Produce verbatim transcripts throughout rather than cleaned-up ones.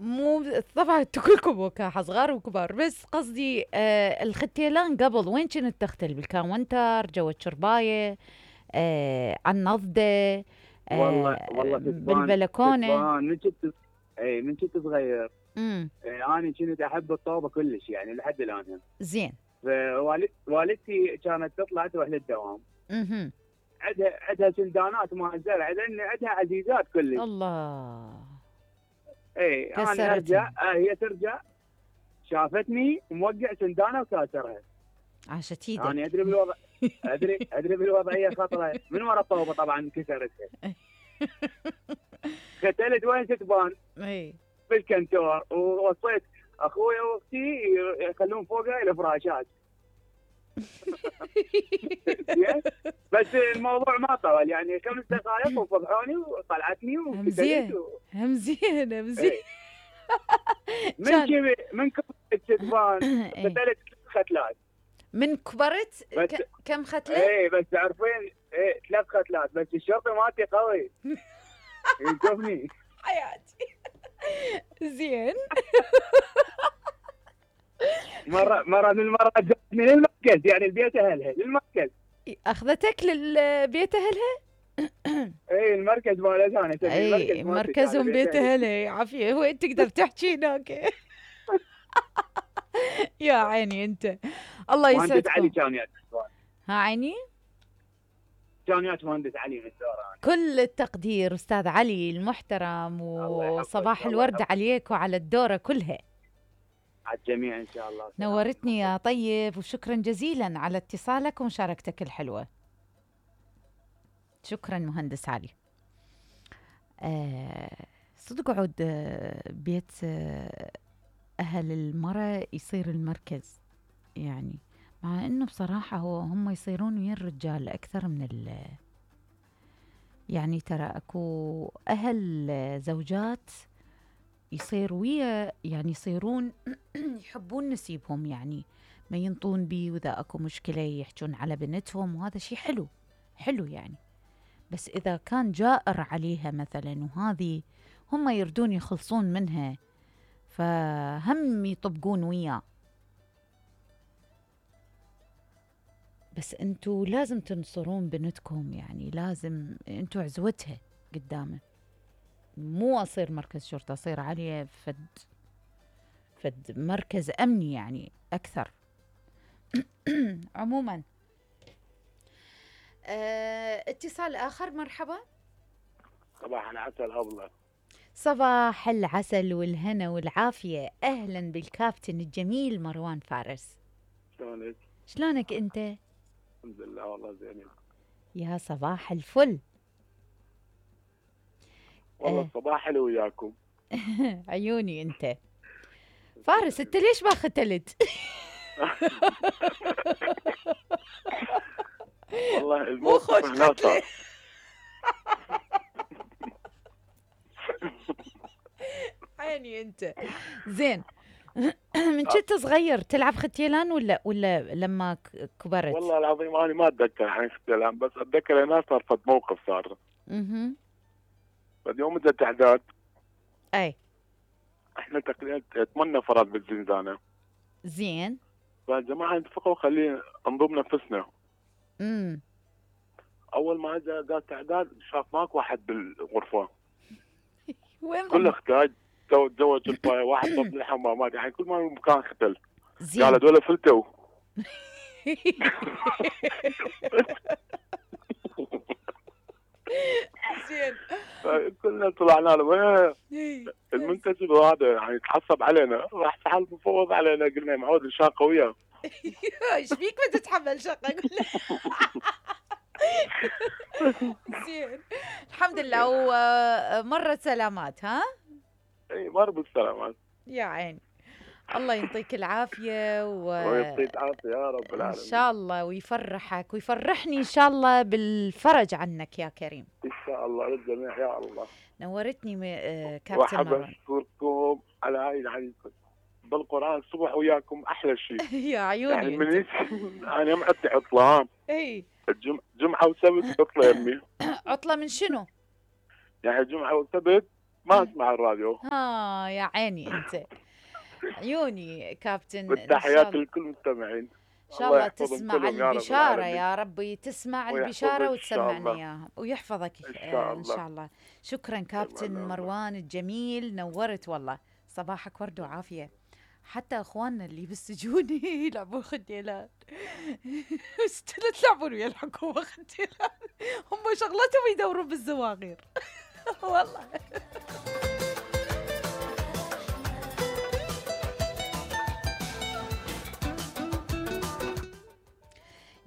مو طبعا انتوا كلكم وكاحة صغار وكبار، بس قصدي آه الختيلان قبل وين كنت تختل؟ بالكاونتر، جوا الشرباية، آه على النضدة، والله آه والله كتبان بالبلكونة؟ كتبان من كنت اي من كنت صغير. امم إيه انا كنت احب الطوبه كلش يعني لحد الان. زين. فوالد والدتي كانت تطلع تروح للدوام. اها عندها عندها سندانات مال الزرع لان عندها عزيزات كلش. الله. اي انا ارجع كسرتهم. آه هي ترجع شافتني موقع سندانه وكاسرها. عاشت انا يعني ايدك. ادري بالوضع ادري ادري بالوضعيه خطره من ورا الطوبه طبعا كسرتها. ختلت وين تبان؟ اي بالكنتور، ووصيت اخوي واختي يخلون فوقها الفراشات. بس الموضوع ما طول يعني خمس دقائق وفضحوني وطلعتني هم وكتلت زين و... هم زين هم زين. ايه. من كان كبر من كبرت تبان اي ختلت ختلات. من كبرت بس ك... كم ختلة؟ ايه بس تعرفين ايه ثلاث ختلات بس الشرطي مالتي قوي يشوفني. حياتي. زين. مره مره من المرات جابتني للمركز يعني البيت اهلها للمركز. اخذتك للبيت اهلها؟ ايه المركز مال انا اسميه المركز اي مالتي كان مركزهم بيت بيت اهلي. اهلها، عافية وين تقدر تحكي هناك. يا عيني انت، الله مهندس علي يسعدكم. كان يات ها عيني. كان يات مهندس علي من الدوران. كل التقدير استاذ علي المحترم، الله يحفظك وصباح الله الورد يحفظك عليك وعلى الدورة كلها. على الجميع ان شاء الله. نورتني يا طيب، وشكرا جزيلا على اتصالك ومشاركتك الحلوة. شكرا مهندس علي. آه صدق عود آه بيت آه أهل المرأة يصير المركز، يعني مع إنه بصراحة هو هم يصيرون ويا الرجال أكثر من ال يعني ترى أكو أهل زوجات يصير ويا يعني يصيرون يحبون نسيبهم، يعني ما ينطون بي، وإذا أكو مشكلة يحجون على بنتهم، وهذا شيء حلو حلو يعني. بس إذا كان جائر عليها مثلا وهذه هم يردون يخلصون منها، فهم يطبقون وياه. بس انتوا لازم تنصرون بنتكم، يعني لازم انتوا عزوتها قدامه، مو اصير مركز شرطة، اصير عليه فد فد مركز امني يعني اكثر. عموما اه اتصال اخر. مرحبا. صباح العسل أبلة. صباح العسل والهنا والعافية، أهلا بالكابتن الجميل مروان فارس. شلونك؟ شلونك أنت؟ الحمد لله والله زين. يا صباح الفل. والله آه. الصباح حلو وياكم. عيوني أنت فارس، أنت ليش ما ختلت؟ والله مو خوش الموقف هنا صار. عيني أنت. زين. من كنت صغير تلعب ختيلان ولا ولا لما كبرت؟ والله العظيم أنا ما أتذكر عن ختلان، بس أتذكر هنا صار فد موقف صار. اها. فد يوم إجت إعداد. أي. إحنا تقريبا ثمان نفرات بالزنزانة. زين. فالجماعة اتفقوا خلينا نضم نفسنا. امم أول ما إجا قالت إعداد شاف ماك واحد بالغرفة. وين كل اختاج تزوج الفاي واحد طب الحمامات، يعني كل ما مكان ختل. زين. قال هذول فلتوا. زين. كلنا طلعنا له المنتسب هذا يعني تعصب علينا، راح سحب مفوض علينا، قلنا معود الشاقه وياه. ايش فيك ما تتحمل شقه؟ زين الحمد لله. ومرت سلامات. ها اي مر بالسلامات يا عيني. الله يعطيك العافيه و... ويعطيك العافيه يا رب العالمين ان شاء الله، ويفرحك ويفرحني ان شاء الله بالفرج عنك يا كريم. ان شاء الله للجميع يا الله. نورتني م... كابتن وحب مروان. اشكركم على هاي يعني بالقران الصبح وياكم احلى شيء. يا عيوني يعني من انت. انا معدي عطله. اي الجمعه وسبت عطله يمي. عطله من شنو؟ يعني جمعه وسبت ما اسمع الراديو. ها يا عيني انت، عيوني كابتن، ان شاء بالتحيات الله. لكل المستمعين. ان شاء الله الله يحفظهم تسمع كلهم يا رب البشارة العالمين. يا ربي، تسمع ويحفظك البشارة ان شاء وتسمعنا الله. اياها ويحفظك ان آه شاء ان الله. شاء الله. شكرا تمام كابتن الله. مروان الجميل، نورت والله. صباحك ورد وعافية. حتى اخواننا اللي بالسجون يلعبون خديلات لا تلعبون ويا الحكومة خديلات، هم شغلتهم يدورون بالزواغير والله.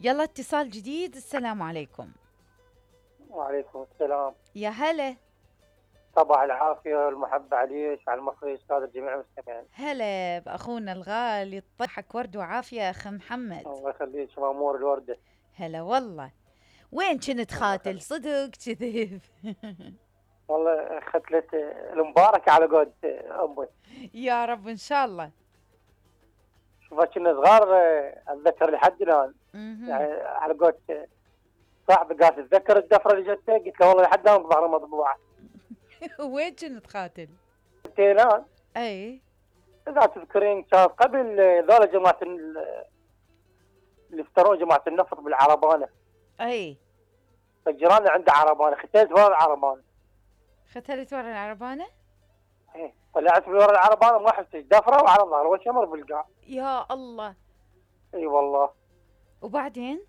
يلا اتصال جديد. السلام عليكم. وعليكم السلام. يا هلا. صباح العافية والمحبة عليك وعلى المخرج السادة جميع المستمعين. هلا بأخونا الغالي، طحك ورد وعافية أخ محمد. الله يخليك مأمور الوردة. هلا والله. وين كنت خاتل صدق كذب؟ والله ختلة المباركة على قد أمي. يا رب إن شاء الله. شوفها كنا صغار أتذكر لحد الآن مهم. يعني على قد صاحبي قال تتذكر الدفرة اللي جتك؟ قلت له والله لحد الآن ظهرها مطبوعة. وين كنت خاتل؟ التيلان. أي إذا تذكرين كان قبل ذولا جماعة ال- اللي افترون جماعة النفط بالعربانة. أي فجيراننا عنده عربانة، ختلت ورا العربانة. ختلت ورا العربانة؟ ايه طلعت من ورا العربانة ما حفتش دفرة وعلى ظهر والشمر بالقاع. يا الله. اي والله. وبعدين؟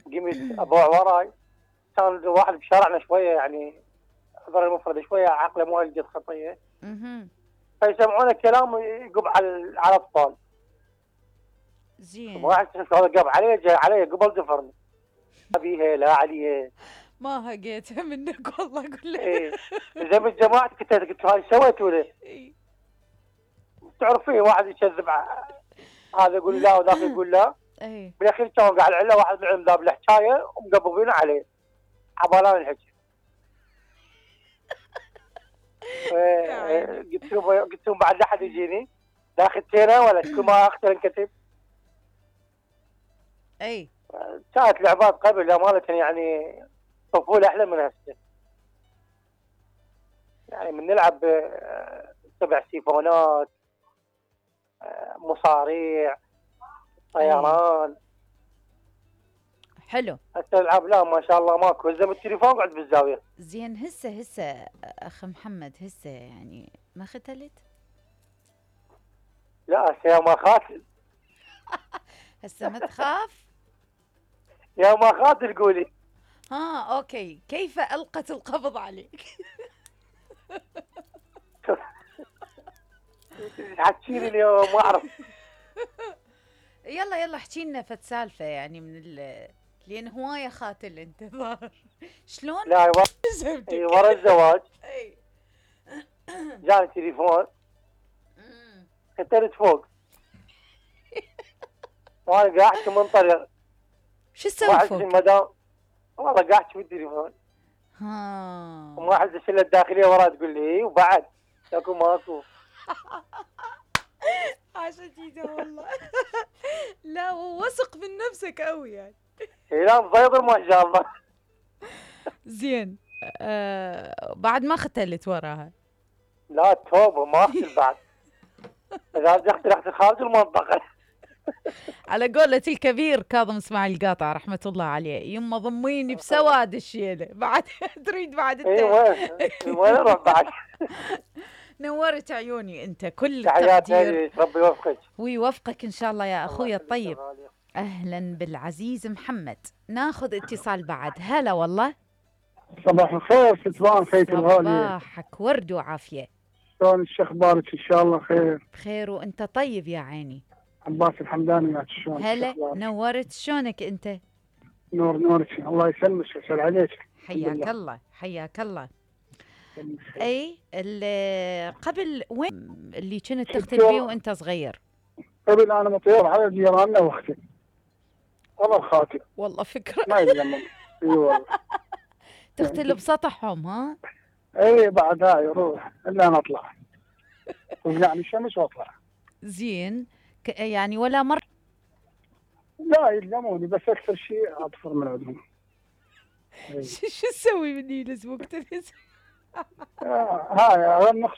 قمت ابوع وراي، كان واحد بشارعنا شويه يعني حضر المفرد شويه عقله مو هالقد خطيه، اها فيسمعونه كلام يقب على على الاطفال. زين. واحد هذا قب علي جاي علي قبل دفرني. ابيها لا عليه. ما هقيتها منك والله اقول لك. ايه زي ما الجماعه قلت قلت هاي سويتوا له؟ إيه. تعرفين واحد يكذب ع- هذا يقول لا وذاك يقول لا. اي بالاخير كان قاعد العله واحد منهم ذاب الحكايه ومقبضين عليه عبالان الحكي. إيه، قلت لهم قلت لهم بعد لا احد يجيني لا اخذتينا ولا كل ما اختار انكتب. اي كانت لعبات قبل امانه يعني طفوله احلى من هسه. يعني من نلعب آه، سبع سيفونات، آه، مصاريع، طيران. حلو. هسه الالعاب لا ما شاء الله ماكو، زي التليفون قعد بالزاويه. زين هسه هسه اخ محمد هسه يعني ما ختلت؟ لا هسه يا ما خاتل هسه ما تخاف؟ يا ما خاتل قولي. ها اوكي، كيف القت القبض عليك؟ حكيني اليوم ما اعرف. يلا يلا احكي لنا فد سالفه يعني من ال لان هوايه خاتل انت ظاهر. شلون؟ لا ورا زهمتك. إي ورا الزواج اي جاني تليفون أمم. ختلت فوق وانا قاعد منطلق شو ما تسوي احس فوق؟ المدام والله قاعد في التليفون ها وما احس الشله الداخليه ورا تقول لي اي وبعد اكو ماكو. عشان كذا والله. لا وثق من نفسك قوي يعني. اي لا مضيضر ما شاء الله. زين آه بعد ما ختلت وراها. لا توبه ما اختل بعد. اذا بدي اختل اختل خارج المنطقه. على قولة الكبير كاظم اسماعيل القاطع رحمة الله عليه، يما ضميني بسواد الشيلة بعد تريد بعد اي التاني. وين وين اروح بعد. نورت عيوني انت، كل تحياتي التقدير لك ربي يوفقك. ويوفقك ان شاء الله يا اخوي الله يخليك يا الطيب. غالية. اهلا بالعزيز محمد. ناخذ اتصال بعد. هلا والله. صباح الخير ستوان خيك الغالية. صباحك ورد وعافية. شلون ايش اخبارك؟ ان شاء الله خير. بخير وانت طيب يا عيني. عباس الحمداني معك شلون؟ هلا إيش أخبارك؟ نورت. شلونك انت؟ نور نورك الله يسلمك ويسهل عليك. حياك لله. الله حياك الله. يسلمك. اي ال- قبل وين اللي كنت تختل شفتوا- فيه وانت صغير؟ قبل انا مطير على جيراننا واختي والله الخاتم والله فكرة. ما يلزم. اي والله. تختل بسطحهم ها؟ اي بعد هاي روح الا نطلع طلعني الشمس واطلع. زين ك- يعني ولا مرة؟ لا يلزموني بس اكثر شيء اطفر من عندهم. إي. شو شو تسوي مني لزمك تلفز؟ آه، هاي نخسر